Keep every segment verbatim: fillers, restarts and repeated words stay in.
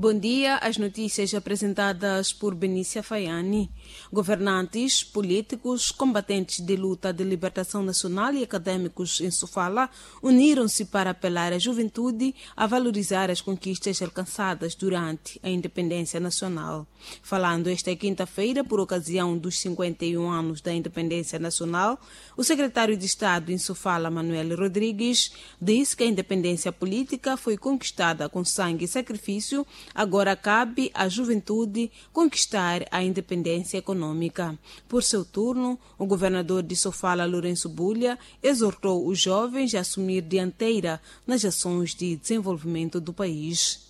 Bom dia. As notícias apresentadas por Benícia Faiani. Governantes, políticos, combatentes de luta de libertação nacional e acadêmicos em Sofala uniram-se para apelar à juventude a valorizar as conquistas alcançadas durante a independência nacional. Falando esta quinta-feira, por ocasião dos cinquenta e um anos da independência nacional, o secretário de Estado em Sofala, Manuel Rodrigues, disse que a independência política foi conquistada com sangue e sacrifício. Agora cabe à juventude conquistar a independência econômica. Por seu turno, o governador de Sofala, Lourenço Bulha, exortou os jovens a assumir dianteira nas ações de desenvolvimento do país.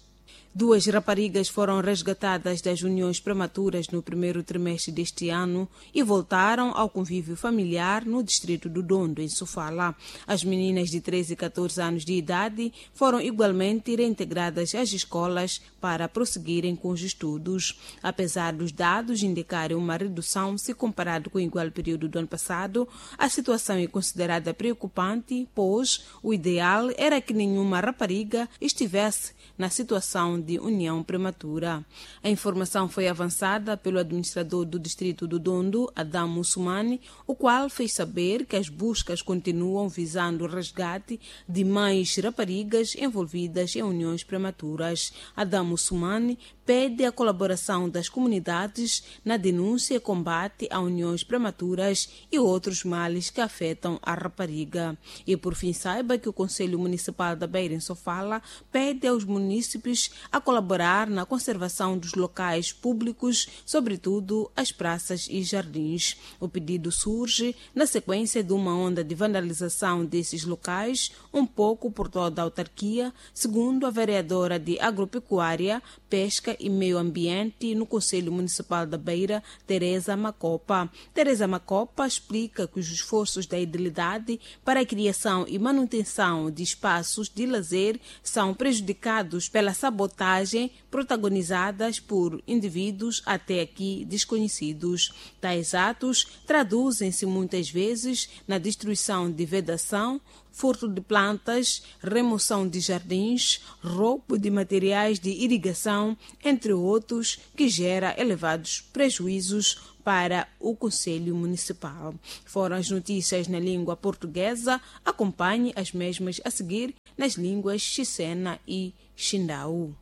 Duas raparigas foram resgatadas das uniões prematuras no primeiro trimestre deste ano e voltaram ao convívio familiar no distrito do Dondo, em Sofala. As meninas de treze e catorze anos de idade foram igualmente reintegradas às escolas para prosseguirem com os estudos. Apesar dos dados indicarem uma redução se comparado com o igual período do ano passado, a situação é considerada preocupante, pois o ideal era que nenhuma rapariga estivesse na situação de união prematura. A informação foi avançada pelo administrador do distrito do Dondo, Adam Mussumani, o qual fez saber que as buscas continuam visando o resgate de mais raparigas envolvidas em uniões prematuras. Adam Mussumani pede a colaboração das comunidades na denúncia e combate a uniões prematuras e outros males que afetam a rapariga. E, por fim, saiba que o Conselho Municipal da Beira, em Sofala, pede aos munícipes a colaborar na conservação dos locais públicos, sobretudo as praças e jardins. O pedido surge na sequência de uma onda de vandalização desses locais, um pouco por toda a autarquia, segundo a vereadora de Agropecuária, Pesca e Meio Ambiente no Conselho Municipal da Beira, Teresa Macopa. Teresa Macopa explica que os esforços da edilidade para a criação e manutenção de espaços de lazer são prejudicados pela sabotagem protagonizadas por indivíduos até aqui desconhecidos. Tais atos traduzem-se muitas vezes na destruição de vedação, furto de plantas, remoção de jardins, roubo de materiais de irrigação, entre outros, que gera elevados prejuízos para o Conselho Municipal. Foram as notícias na língua portuguesa. Acompanhe as mesmas a seguir nas línguas Chisena e Chindau.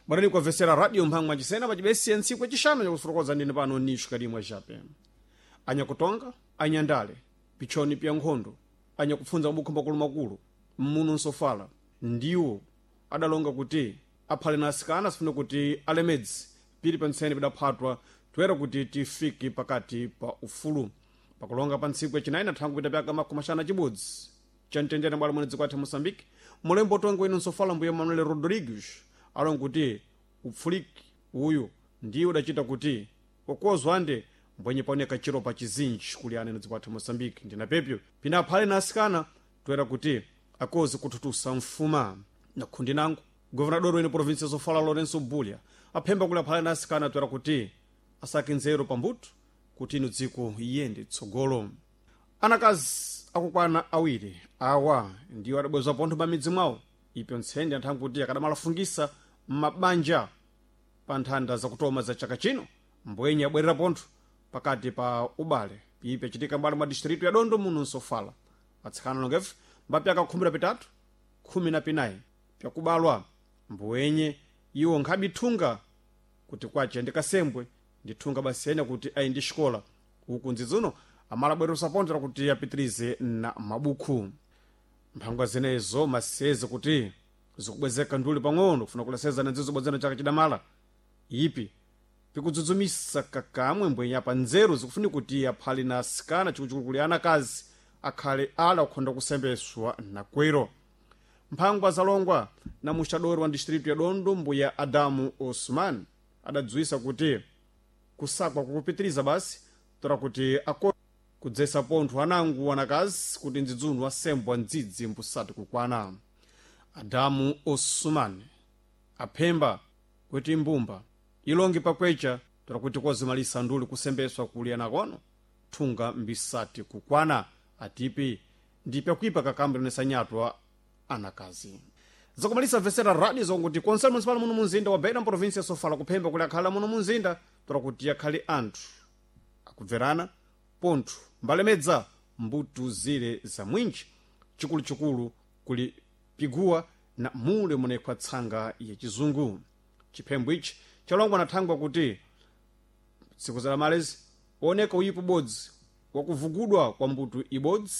Barani kuamvesera radio mphangwa chisena pachibesiya ntsiku yacixanu yakufotokoza ndine pano nisho kalimwa chape anyakutonga anyandale pichoni pya nkhondo anyakupfunza mabukho makulumakulu mmuno nsofala ndiwo adalonga kuti aphale na asikana asifuna kuti alemedzi pili pantsene pidaphatwa toera kuti tifike pakati pa ufulu. Pakulonga pa ntsiku yacinayi na thangu pita pyaka makumi axanu na cibodzi cha mtendere bwala mwene dziko athu Moçambique, mulembo utongi wenu nsofala, mbuye Manuel Rodrigues, alonga kuti upfuliki uyu ndiye udacita kuti wakuwazwa ande mbwenye paoneka chiro pa chizinji kuli ane na dziko athu Moçambique. Ndina pepyo pina aphale na asikana toera kuti akoze kuthutusa mfuma. Na khundi nangu, governador wene província ya Sofala, Lourenço Bulha, aphemba kuli aphale na asikana toera kuti asake nzeru pambuto kuti ino dziko iyende tsogolo. Anakazi akukwana awiri awa ndiwo adabwezwa pontho pamidzi mwawo ipyo ntsende anthangu kuti akadamalafungisa m'mabanja pa nthanda zakutoma za chaka chino, mbwenye abwerera pontho pakati pa ubale. Ipi achitika mbali mwa distritu ya Dondo muno nsofala. Atsikana longefe mbapyaka khumi na pitatu, khumi na pinayi pyakubalwa, mbwenye iwo nkhabe thunga kuti kwace ndikasembwe ndithunga basi ena kuti ayi ndi xikola uku ndzidzuno amalabweresa pontho kuti apitirize na mabukhu. Mphangwa zenezo maseze kuti zikubwezeka nduli pang'ono kufuna kulaseza na ndzizo bwadzana chaka chidamala ipi pikudzudzumisa kakamwe mbwenye apa nzeru zikufuni kuti aphale na asikana, chikuchikulu kuli anakazi, akhale ala kukhonda kusembeswa nakwero. Mphangwa zalongwa na muxadori wa distritu ya Dondo, mbuya Adamu Osman, adadziwisa kuti kusakwa kukupitiriza basi tora kuti ako kudzesa pontho anangu anakazi kuti ndzidzunu asembwa ndzidzi mbusati kukwana. Adamu Osman aphemba kuti mbumba ilongi pakwecha tora kuti kozimalisa nduli kusembeswa kuli anakono thunga mbisati kukwana, atipi ndipyakuipa kakambo linesa nyatwa anakazi. Zakumalisa vesera radio zonguti konsel municipal muno munzinda wa Beira province ya Sofala kuphemba kuli akhala muno munzinda tora kuti yakhale anthu akubverana pontho mbalemedza mbuto zile za mwinji chikuluchikulu kuli piguwa na mule munekhwa tsanga ya chizungu. Chiphembo ichi chalongwa na thangwa kuti tsiku za lamalezi oneka uyipo bodzi wakuvugudwa kwa mbuto ibodzi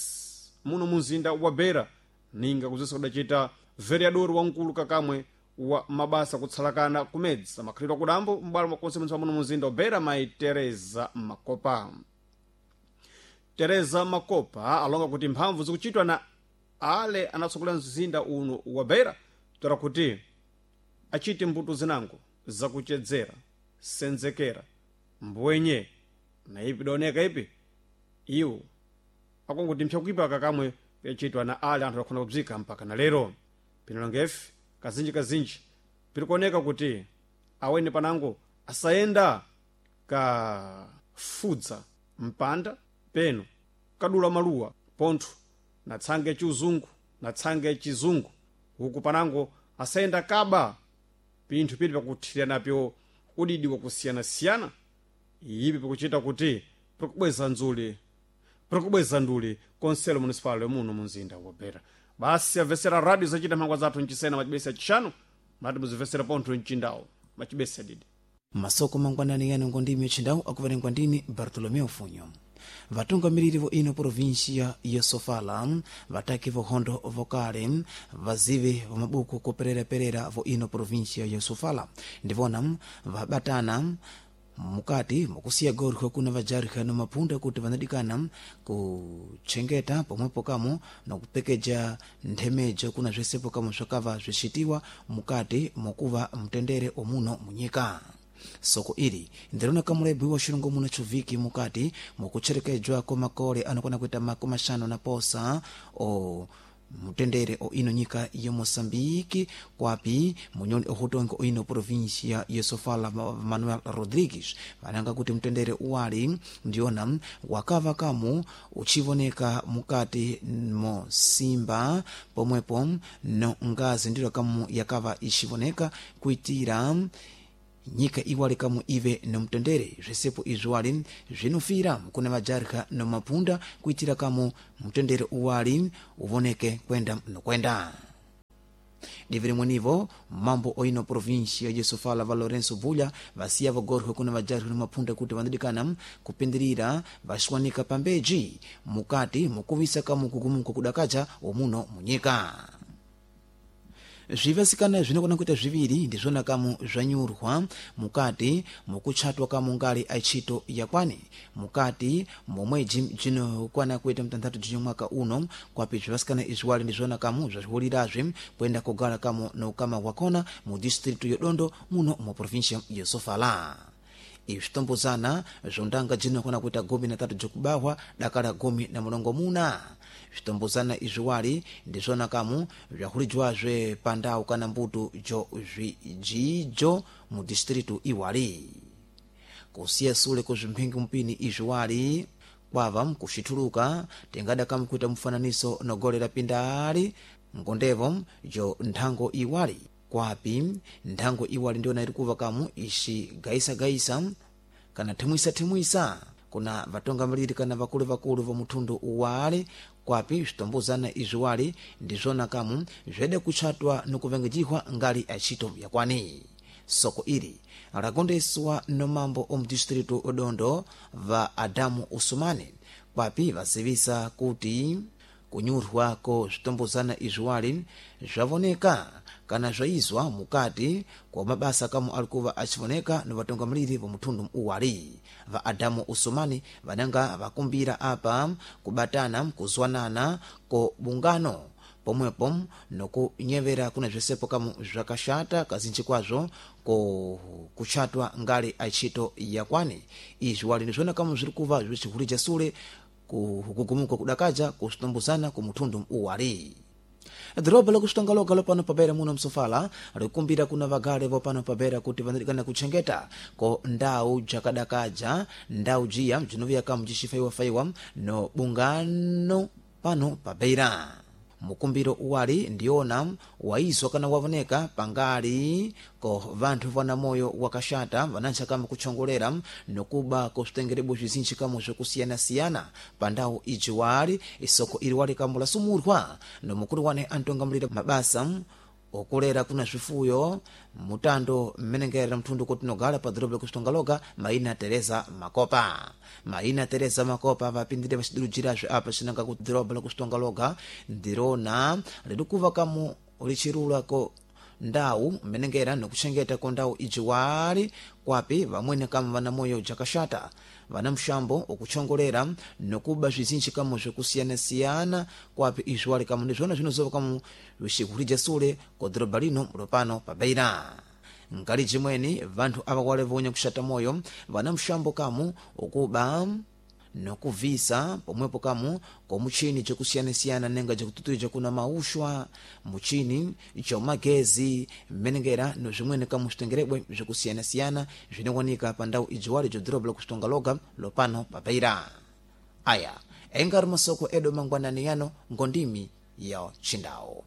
muno munzinda wa Beira ninga kuzisa kudachita vereador wamkulu kakamwe wa mabasa kutsalakana kumedzi amakhalidwe akudambo m'bwalo mwakonse munthu muno munzinda wa Beira mayi Teresa Makopa. Teresa Makopa alonga kuti mphamvu zikuchitwa na ale anatsogolera mzinda uno wa Beira tora kuti achite mbuto zinango zakuchedzera senzekera mbwenye na ipi daoneka ipi iwo akonguti mpyakuipa kakamwe pyachitwa na ale anthu akhona kubzika mpaka na lero. Pinalongefe kazinji kazinji pirikuoneka kuti aweni panango asayenda kafudza mpanda peno kadula maluwa pontho na tsanga yachiuzungu na tsanga yachizungu huku panango asayenda kaba pinthu pili pakuthirira napyo udidi wakusiyanasiyana ipi pikuchita kuti pirikubweza nzuli pirikubweza nduli konselo municipal muno munzinda wa Beira. Basi amvesera radio zachita mphangwa zathu mchisena machibesa chishanu mati muzimvesera pontho mchindawo machibesa didi masoko mangwanani yano ngondimi yachindawu akuverengwa ndini Bartolomeu Funyo. Vatungamiriri vo ino província ya Sofala vataki vohondo vokale vazivi va mabuku kupereraperera vo ino província ya Sofala ndivona vabatana mukati mukusiya gorha kuna vajarha no mapunda kuti vanadikana kuchengeta pomwepo kamo nokupekeja nthemejo kuna zwesepo kamo swakava zwicitiwa mukati mokuva mtendere omuno munyika. Soko ili ndirona kamulebwi xilongo muno chuviki mukati mukucherekejwa kwa makole anokwana kuita makumi axanu na posa o mutendere o ino nyika ya Moçambique kwapi munyoni ohutonga o ino província ya Sofala Manuel Rodrigues vananga kuti mtendere uwali ndiona wakava kamu uchivoneka mukati mo simba pomwepo no ngazi ndilo kamu yakava ixivoneka kuitira nyika iwali kamu ive nomtendere zvisepo izviwali zvinofira kuna vajarika nomapunda kuitira kamu mtendere uwali uvoneke kwenda nokwenda. Divi rimwenivo mambo oino província ya Sofala va Lourenço Vulha vasiya vagorwe kuna vajarika nomapunda kuti vanadikana kupindirira vaxiwanika pambeji mukati mukuvisa kamu kugumuka kudakaja omuno munyika. Zvivasikana zvinokona kuita zviviri ndizvona kamu zvanyurwa mukati mukutchatwa kamu ngali achito yakwani mukati momwedzi jinokwana kuita mtanthatu jinyo mwaka uno kwapi zvivasikana izviwali ndizvona kamu zvaxiwulirazve kuenda kugala kamu noukama wakona mu distritu yodondo muno mu província ya Sofala. Izvitombozana zvondanga jinokwana kuita gumi na tatu jokubahwa dakala gumi na mulongo muna. Zvitombozana izviwali ndizvona kamu zvahulijwazve pandau kana mbuto jo zvijijo mu distritu iwali. Kusiya sule kuzvimphingi mpini izviwali kwava mkuxithuluka tingada kamu kuita mfananiso nogolera pindali ngondevo jo nthango iwali kwapi nthango iwali ndiona iri kuva kamu ixigayisagayisa kana thimwisa-thimwisa kuna vatungamiriri kana vakulu vakulu va muthundu uwali kwapi zvitombozana izviwali ndizvona kamu zvede kutchatwa nokuvengejihwa ngali achito yakwani. Soko ili lakondeswa nomambo omudistritu odondo va Adamu Usumani kwapi vazivisa kuti kunyurwa ko zvitombozana izviwali zvavoneka kana zvaizwa mukati kwa mabasa kamu alikuva achivoneka ni vatungamiriri va muthundu uwali. Va Adamu Usumani vananga vakumbira apa kubatana kuzwanana ko bungano pomwepo nokunyevera kuna zvisepo kamu zvakaxata kazinji kwazvo ko kutchatwa ngali achito yakwani. Izvi wali ndizvona kamu zviri kuva zvicihulija sule kugugumuka kudakaja kusitombozana ku muthundu uwali. Dhorobha lakuxitongaloga lopano pabera muno msofala likumbira kuna vagale vopano pabera kuti vanadikana kutchengeta ko ndau jakadakaja ndau jiya bzinoviya kamu jixifaiwafaiwa no bungano pano pabera. Mukumbiro uwali ndiona waizwa kana wavoneka pangali ko vanthu vana moyo wakaxata vanantcha kama kutchongolera nokuba kosvitengerebwe bzizinji kamo zvokusiyanasiyana pa ndawu iji wali isoko ili wali kambo lasumurwa nomukulu wane antongamulira mabasa okulera kuna zvifuyo mutando mmenengerera mthundu kotinogala pa dhorobo lakuxitongaloga maina Teresa Makopa. Maina Teresa Makopa vapindire vacidirujirazve apa cinanga ku dhorobo lakuxitongaloga ndirona lidikuva kamu lichirulako ndawu mmenengera nokuchengeta ko ndawu iji wali kwapi vamwene kama vana moyo jakaxata vana mxambo okuchongolera nokuba bzizinji kamo zvokusiyanasiyana kwapi izvi wali kamo ndizvona zvinozova kamo vixihurija sule ko dhoroba lino lopano pa Beira. Nkali jimweni vanthu ava wale vonya kuxata moyo vana mxambo kamu okuba nokuvisa pomwepo kamu komuchini jakusiyanasiyana nenga jakututuija kuna mauxwa muchini jomagezi mmenengera nozvimwene kamu zvitengerebwe zvokusiyanasiyana zvinowanika pa ndau ijiwali jodhoroba lakuxitongaloga lopano pa Beira. Aya engari masoko edu mangwanani yano ngondimi ya chindau.